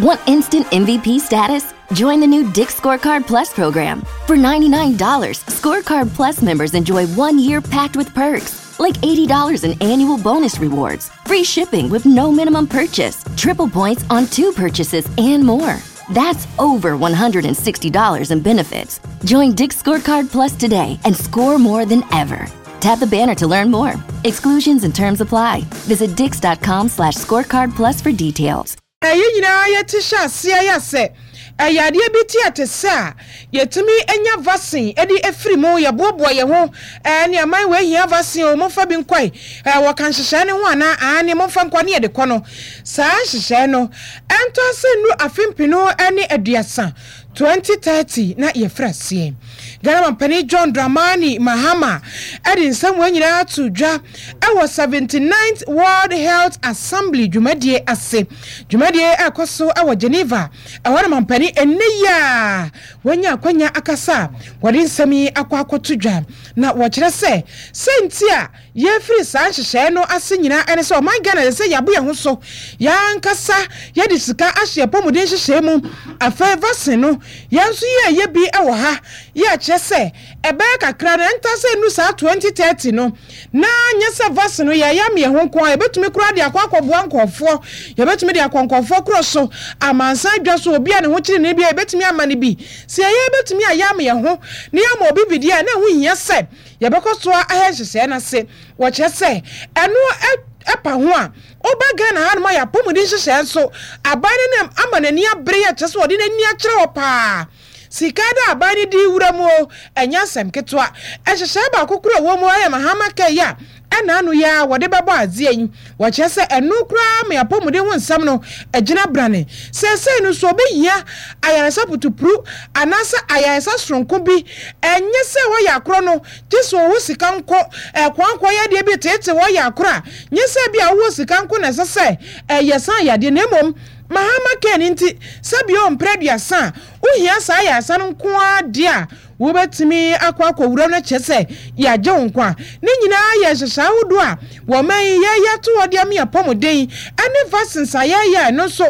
Want instant MVP status? Join the new Dick's Scorecard Plus program. For $99, Scorecard Plus members enjoy 1 year packed with perks, like $80 in annual bonus rewards, free shipping with no minimum purchase, triple points on two purchases, and more. That's over $160 in benefits. Join Dick's Scorecard Plus today and score more than ever. Tap the banner to learn more. Exclusions and terms apply. Visit dicks.com/scorecardplus for details. Yɛn nyinaa yɛte hyɛ aseɛ yɛ sɛ ɛyɛ adeɛ bi te ate sɛ a yɛtumi anya vaccine de afiri mu. Yɛboaboa yɛn ho ne aman wɔ ahia vaccine o, momfa bi nkɔe. Wɔka nhyehyɛe no ho anaa? Aane, momfa nkɔ ne yɛde kɔ no. Saa nhyehyɛe no ɛntɔ ase nnuru afe 2030, 2030, na yɛfiri aseɛ. Ghana mampanin John Dramani Mahama ɛde nsɛm wɔn nyinaa to dwa ɛwɔ 79th World Health Assembly dwumadie ase. Dwumadie ɛkɔ so ɛwɔ Geneva. Ɛhɔ na mampanin ɛnɛ yi a wɔanya akwanya akasa a wɔde nsɛm yi akɔ akɔto dwa, na wɔkyerɛ sɛ sɛnti a yɛfiri saa nhyehyɛe no ase nyinaa ɛne sɛ ɔman Ghana de sɛ yɛabo yɛn ho so, yɛankasa yɛde sika ahyɛ pɔmuden nhyehyɛe mu. Afei vaccine no, yɛn nso yɛyɛ bi wɔ ha. Yɛkyerɛ sɛ ɛbɛyɛ kakra no, ɛnta sɛ nu saa 2030 no, na nyɛ sɛ vaccine no yɛyɛ ama yɛn ho nko a, yɛbɛtumi koraa de akɔ akɔboa nkɔɔfoɔ. Yɛbɛtumi de akɔ nkɔɔfoɔ korɔ so, amansan dwa so, obi a ne ho kyerɛ ne bi a, yɛbɛtumi ama no bi. Sɛ yɛyɛ bɛtumi ayɛ ama yɛn ho na yɛama obi bi deɛ a, na ɛho hia sɛ yɛbɛkɔ so ahɛ nhyehyɛe no ase. Wɔkyerɛ sɛ ɛno ɛpa ho a, woba Ghana hanom a, yɛapɔmuden nhyehyɛe nso, aban no nam ama n'ani abere yɛ kyerɛ sɛ wɔde n'ani akyerɛ hɔ paa. Sika da aban no di wura mu o, ɛnyɛ asɛm ketewa. Nhyehyɛe baako koro a ɛwɔ mu ayɛ Mahama Care yi a ɛna ano yi a wɔde bɛbɔ adeɛ yi. Wɔkyerɛ sɛ ɛno koraa ma apɔmuden ho nsɛm no agyina brane. Seesei no so obɛhia ayaresa putupuru anaasɛ ayaresa soronko bi, ɛnyɛ sɛ wɔyɛ akorɔ no gye sɛ ɔwɔ sika nko. Ɛkwankɔ yadeɛ bi tete wɔyɛ akorɔ a, nyɛ sɛ bi a wowɔ sika nko na ɛsɛ sɛ ɛyɛ san yadeɛ, na mmom Mahama Care no nti, sɛbio mprɛ 30 a wohia saa ayaresa no nko ara deɛ a, wobɛtumi akɔ akɔwura no, kyerɛ sɛ yɛagye wo nkwa. Ne nyinaa yɛ nhyehyɛ ahodoɔ a wɔma yi yɛyɛ to hɔ de ama yɛpɔmuden ne vaccines a yɛyɛ a, ɛno nso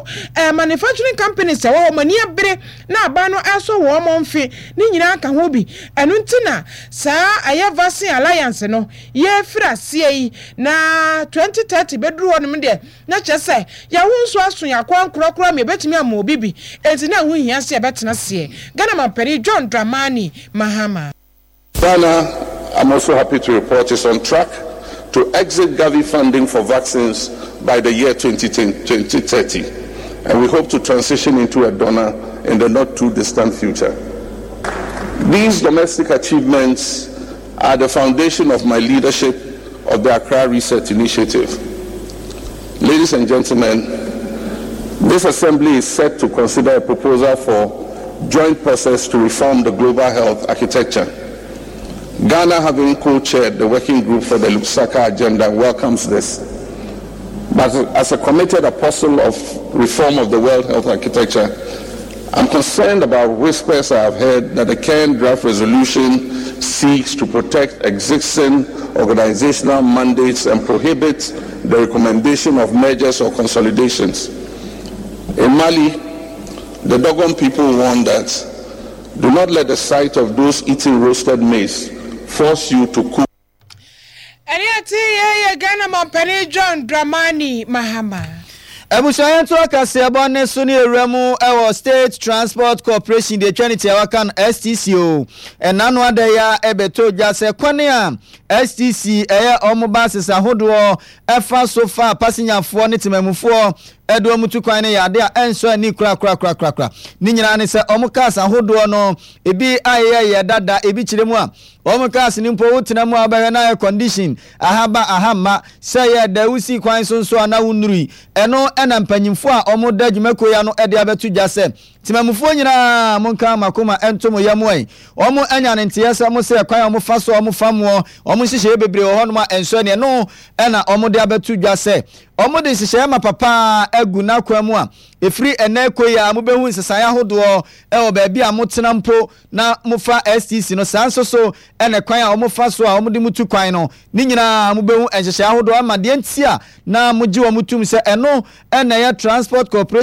manufacturing companies ɛwɔ hɔ mani abere na aban no ɛsɔ wɔn mo mfe ne nyinaa ka ho bi. Ɛno nti na saa ɛyɛ Vaccine Alliance no yɛfiri aseɛ yi, na 2030 bɛduru hɔ nom deɛ, na kyerɛ sɛ yɛho nso aso yɛ akɔ nkorakora ma yɛbɛtumi ama obi bi. Enti na ɛho hia sɛ yɛbɛtena seɛ. Ghana mampanin John Dramani Mahama. Ghana, I'm also happy to report, is on track to exit Gavi funding for vaccines by the year 2030, and we hope to transition into a donor in the not too distant future. These domestic achievements are the foundation of my leadership of the Accra Reset Initiative. Ladies and gentlemen, this assembly is set to consider a proposal for joint process to reform the global health architecture. Ghana, having co-chaired the working group for the Lusaka Agenda, welcomes this. But as a committed apostle of reform of the World Health Architecture, I'm concerned about whispers I have heard that the current draft resolution seeks to protect existing organizational mandates and prohibit the recommendation of mergers or consolidations. In Mali, the Dogon people warned that do not let the sight of those eating roasted maize force you to cook. Ɛne ate yɛyɛ Ghana mampanin John Dramani Mahama. Abusua, yɛn to akaseɛbɔ ne so ne ewura mu ɛwɔ State Transport Corporation deɛ atwa ne tia waka no STC o. Ɛna no ada yi a ɛbɛtɔ dwa sɛ kwane a STC ɛyɛ ɔmo buses ahodoɔ ɛfa so fa pasenyafoɔ ne temamufoɔ ɛde ɔmo tu kwan no yɛ ade a ɛnsɔ ani korakorakorakora. Ne nyinaa ne sɛ ɔmo cars ahodoɔ no ebi ayɛyɛ yɛ dada, ebi kyerɛ mu a wɔn cars no mpo wotena mu a wobɛhwɛ na air condition ahaba ahamma sɛ yɛ da wosi kwan so nso a na wonnurui. Ɛno ɛna mpanyimfoɔ a wɔn da dwumakuo ya no ɛde abɛto dwa sɛ temamufoɔ nyinaa monka makoma ɛnto mo yam ɛ. Wɔn anya ne nteɛ sɛ mo sɛ kwan a wɔn so a wɔn fa moɔ, wɔn nhyehyɛeɛ bebree wɔ hɔnom a ɛnsɔ ani. Ɛno ɛna wɔn de abɛto dwa sɛ wɔn de nhyehyɛeɛ ma papa agu n'akwan mu a ɛfiri ɛnɛ kɔ yi a mobɛhu nsesaeɛ ahodoɔ ɛwɔ baabi a motena mpo na mofa STC no. Saa nso so ɛna kwan a wɔfa so a wɔde mu tu kwan no ne nyinaa mobɛhu nhyehyɛeɛ ahodoɔ ama deɛ nti a na mogye wɔn tum sɛ ɛno ɛna ɛyɛ Transport Corporation.